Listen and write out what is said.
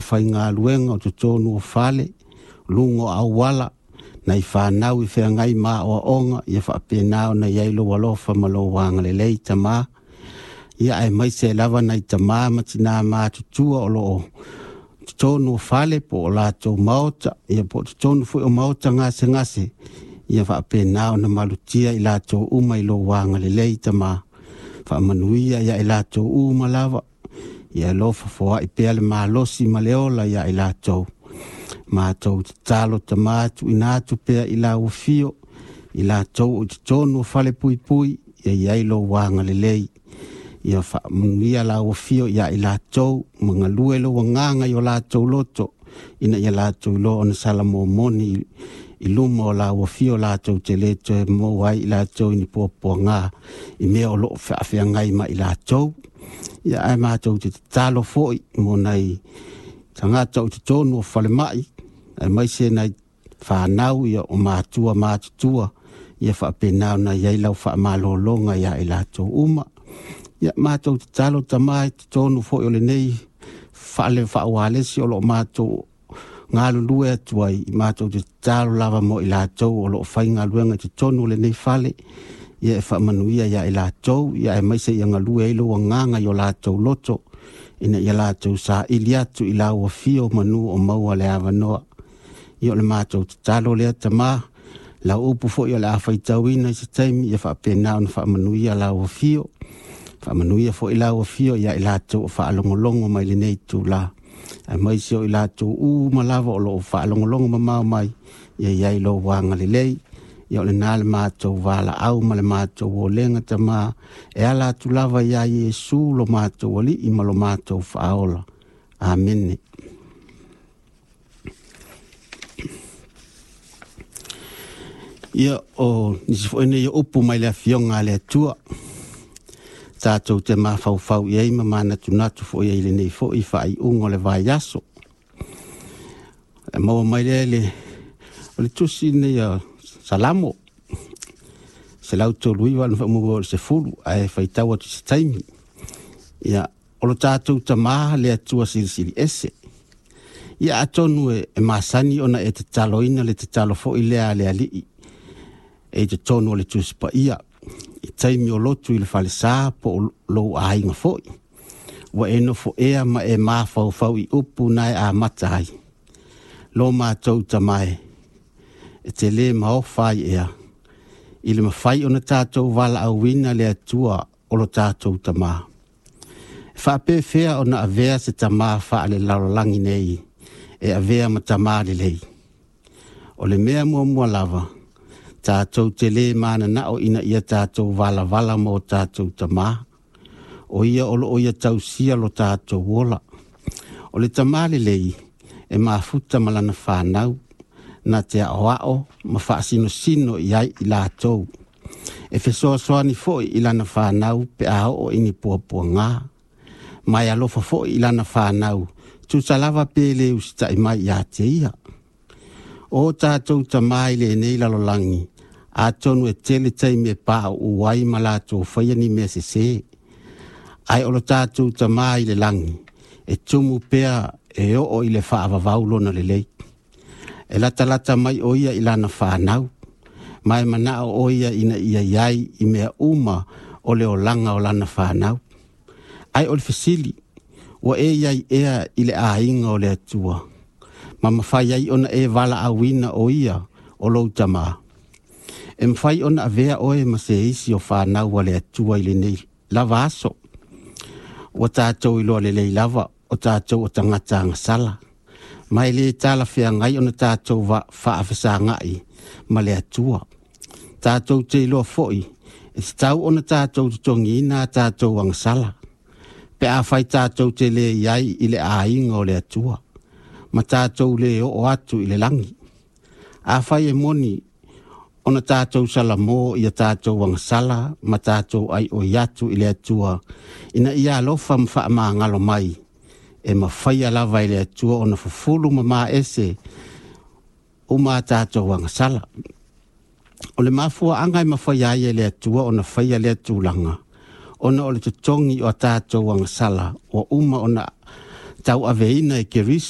faigaluega o totonu o fale, luga o auala, nai fanau i feagai ma aoaoga, ia faapena ona i ai lou alofa ma lou agalelei Tamā. Ia aemaise lava nai tamā ma tinā matutua o loo totonu o fale po o latou maota, ia po o totonu foi o maota gasegase, ia faapena ona malutia i latou uma i lou agalelei Tamā. Faamanuia ia i latou uma lava, ia alofa foai pea le malosi ma le ola ia i latou. Matou tatalo Tamā, tuuina atu pea i lau afio, i latou o i totonu o fale puipui, ia i ai lou agalelei. Ia faamanuia lau afio ia i latou, ma galue lou agaga i o latou loto, ina ia latou iloa ona salamomoni i luma o lau afio latou te le toe maua ai i latou i ni puapuaga i mea o loo faafeagai ma i latou. Ia ae matou te tatalo foi mo nai tagata o totonu o falemai, aemaise nai fanau ia o matua matutua, ia faapena ona i ai lau faamalologa ia i latou uma. Ia matou tatalo Tamā i totonu foi o lenei fale faaualesi o loo matou galulue atu ai, matou te tatalo lava mo i latou o loo faigaluega i totonu o lenei fale, ia e faamanuia ia i latou, ia aemaise ia galue ai lou agaga i o latou loto, ina ia latou saili atu i lau afio manu o maua le avanoa. Ia o le matou tatalo lea Tamā, lau upu foi o le a faitauina i se taimi, ia faapena ona faamanuia lau afio. Faamanuia foi lau afio ia i latou o faalogologo mai lenei itula, aemaise o i latou uma lava o loo faalogologo mamao mai, ia i ai lou agalelei. Ia o lena le matou valaau ma le matou olega Tamā, e ala atu lava ia Iesu lo matou Alii ma lo matou Faaola. Amene. Ia o nisi foi nei o upu mai le afioga a le Atua, tatou te mafaufau i ai ma manatunatu foi ai i lenei foi faaiuga o le vaiaso. E maua mai lea le o le tusi lenei a Salamo 139 na faamua o le 10, ae faitau atu se taimi. Ia o lo tatou Tamā le Atua silisili ese. Ia atonu e masani ona e tataloina le tatalo foi lea a le Alii e i totonu o le Tusi Paia i taimi o lotu i le falesa po o lou aiga foi. Ua e nofo ea ma e mafaufau i upu na e amata ai. Lo matou Tamā e te lē maofa ai ea, i le mafai ona tatou valaauina le Atua o lo tatou Tamā. E faapefea ona avea se tamā faalelalolagi nei e avea ma tamā lelei. O le mea muamua lava, tatou te lē mananao ina ia tatou valavala ma o tatou tamā, o ia o loo ia tausia lo tatou ola. O le tamā lelei e mafuta ma lana fanau, na te aoao ma faasinosino i ai i latou. E fesoasoani foi i lana fanau pe a oo i ni puapuaga, ma e alofa foi i lana fanau, tusa lava pe le usitai mai ia te ia. O tatou tamā i lenei lalolagi, atonu e tele taimi e pauu ai ma latou faia ni mea sesē. Ae o lo tatou Tamā i le lagi, e tumu pea e oo i le faavavau lona lelei. E latalata mai o ia i lana fanau, ma e manao o ia ina ia i ai i mea uma o le olaga o lana fanau. Ae o le fesili, ua e i ai ea i le aiga o le Atua, ma mafai ai ona e valaauina o ia o lou Tamā? E mafai ona avea oe ma se isi o fanau a le Atua i lenei lava aso. Ua tatou iloa lelei lava o tatou o tagata agasala, ma e lē talafeagai ona tatou faafesagai ma le Atua. Tatou te iloa foi e tatau ona tatou totogiina a tatou agasala, pe afai tatou te lē i ai i le aiga o le Atua, ma tatou lē oo atu i le lagi. Afai e moni ona tatou salamo ia tatou agasala ma tatou aioi atu i le Atua ina ia alofa ma faamagalo mai, e mafaia lava e le Atua ona fufulu ma maese uma a tatou agasala. O le mafuaaga e mafaia ai e le Atua ona faia lea tulaga, ona o le totogi o a tatou agasala ua uma ona tauaveina e Keriso.